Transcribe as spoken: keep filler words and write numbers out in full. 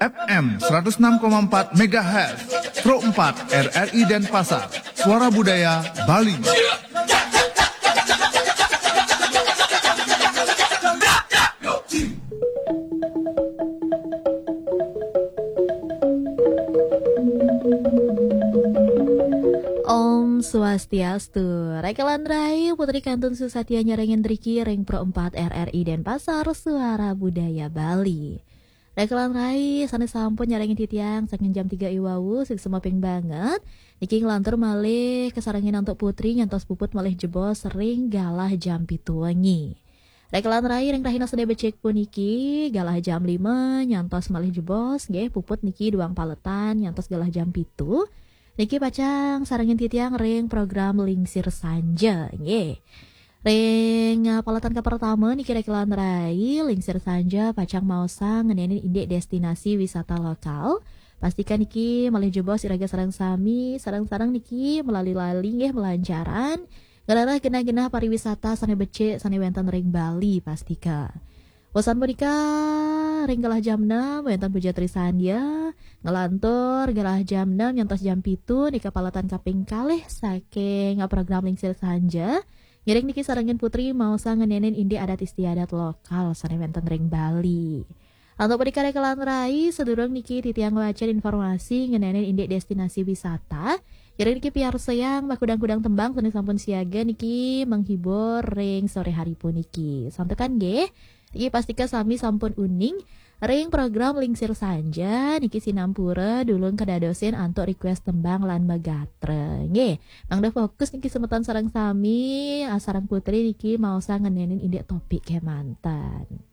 F M seratus enam koma empat megahertz, Pro empat R R I Denpasar, Suara Budaya Bali. Om Swastiastu. Rekelan Rai, Putri Kantun Susatia nyarengin driki ring Pro empat R R I Denpasar, Suara Budaya Bali. Rekelan Rai, sane sampun nyarengin titiang saking jam tiga iwau, sing semaping banget. Niki nglantur malih kasarengin antuk Putri nyantos puput malih jebos ring galah jam pitu wengi. Rekelan Rai, ring rahina sane becik puniki, galah jam lima nyantos malih jebos, nggih, puput niki duang paletan nyantos galah jam pitu. Niki pacang sarengin titiang ring program Lingsir Sanja, nggih. Ring, eh, paletan kapertama niki Rekelan Rai, Lingsir Sanja pacang maosang ngenenin indik destinasi wisata lokal. Pastikan niki malih jebos iraga sareng sami, sareng-sareng niki melali-lali nggih melancaran ngrereh genah-genah pariwisata sane becik sane wenten ring Bali, pastika. Wusan punika, ring galah jam enam wenten Puja Trisandya, nglantur galah jam enam nyantos jam pitu nika paletan kaping kalih saking program Lingsir Sanja. Ngiring niki sarengin Putri maosang ngenenin indik adat istiadat lokal sane wenten ring Bali. Antuk punika Rekelan Rai, sadurung niki titiang ngwacen informasi ngenenin indik destinasi wisata. Ngiring niki piarsayang makudang-kudang tembang sane sampun siaga niki menghibur ring sore hari puniki. Santukan nggih. Niki pastika sami sampun uning ring program Lingsir Sanja niki sinampura dulung kadadosin antuk request tembang lan magatra. Nggih, mangda fokus niki semeton sareng sami, ah, sareng Putri niki maosang ngenenin indik topik kemanten.